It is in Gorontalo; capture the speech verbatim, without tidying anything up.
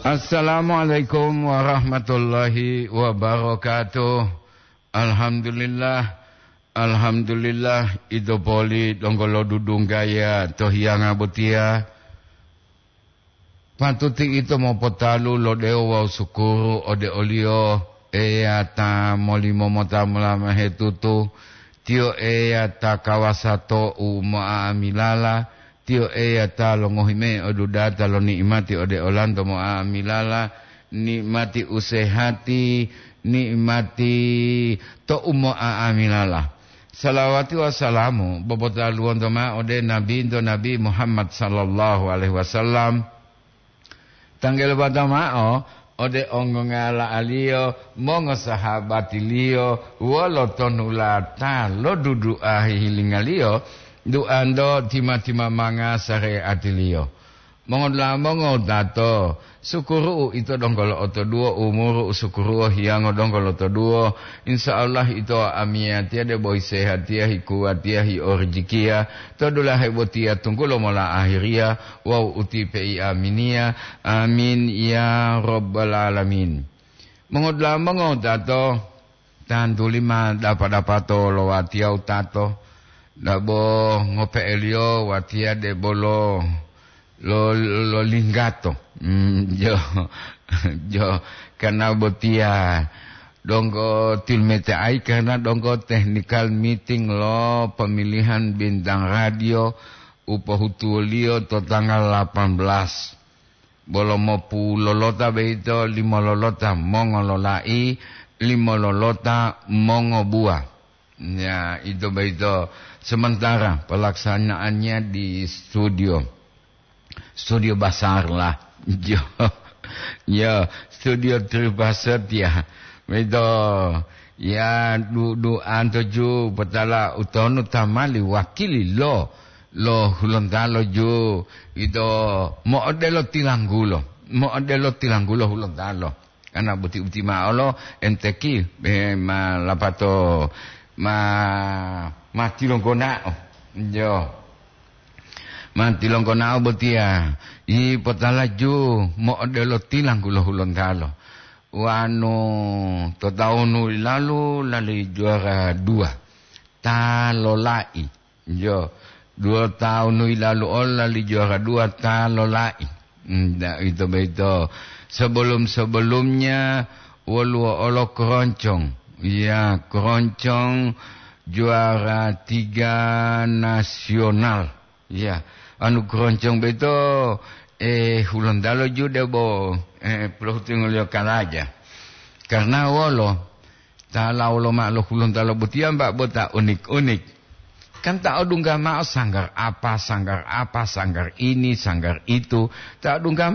Assalamualaikum warahmatullahi wabarakatuh. Alhamdulillah, alhamdulillah, ito poli donggo lodudunggaya to hiyanga botiya. Patuti ito mopotalu lo dewo wawu sukuru ode o-Liyo, Eya ta molimo mota molamahe tutu. Tiyo Eya ta kawasa to u mo'a'amilala. Tiyo Eya ta longohi mayi odudata lo ni'imati ode olanto mo'a'amilala, ni'imati usehati, ni'imati to u mo'a'amilala. Salawati wawu salamu bopotaluwonto ma'o ode Nabinto Nabi Muhammad sallallahu alaihi wasallam. Tanggelo bata ma'o ode ongongala'aliyo, mongosahabatiliyo, wolo tonulata lo dudu'a hihilingaliyo, duanto tima-timamanga sare'atiliyo. Mongodula'a mongowutato, sukuru'u ito donggo lo'otoduwo, umuru u sukuruwo hiyango donggo lotoduwo. Insya Allah ito amiyatiya debo hisehatiya, hikuwatiya, hiorijikiya to dulahe botiya tunggulo mola ahiriya wawu utipe'i aminiya. Amin ya rabbal alamin. Mongodula'a mongowutato, tantuli ma dapa-dapato lo watiya wutato, dabo ngope'eliyo watiya debolo lo, lo linggato. Mm, jo, jo, karena botiya donggo tilmete'ai karena donggo technical meeting lo pemilihan bintang radio u pohutuwoliyo to tanggal delapan belas. Bolo mopulolota boyito limo lolota mongololai, limo lolota mongobuwa. Ya, ito boyito sementara pelaksanaannya di studio. Studio besar lah. Jo, ya, studio Tripaset ya. Boyito, ya, du-, duanto ju potala utonu tamali wakili lo, lo Hulontalo ju. Ito mo'odelo tilanggulo, mo'odelo tilanggulo Hulontalo. Karena buti-buti ma'o lo enteki, eh, ma lapato ma, ma tilonggona'o. Jo. Ma tilonggona'o botiya, i potalaju mo'odelo tilanggulo Hulontalo. Wanu to taunu lalu lali juara dua. Ta lolai. Jo, dua tahun yilalu ola li juara dua ta lolai. Nda, ito boyito. Sebelum-sebelumnya woluwo olo keroncong. Ya, keroncong juara tiga nasional. Ya, anu keroncong boyito, eh, Hulontalo ju debo, eh, pelohutungo liyo kalaja. Karena wolo, ta lawo lomao lo Hulontalo botiya, mbak, bo ta unik-unik. Kan ta odungga mao sanggar apa, sanggar apa, sanggar ini, sanggar itu. Ta odungga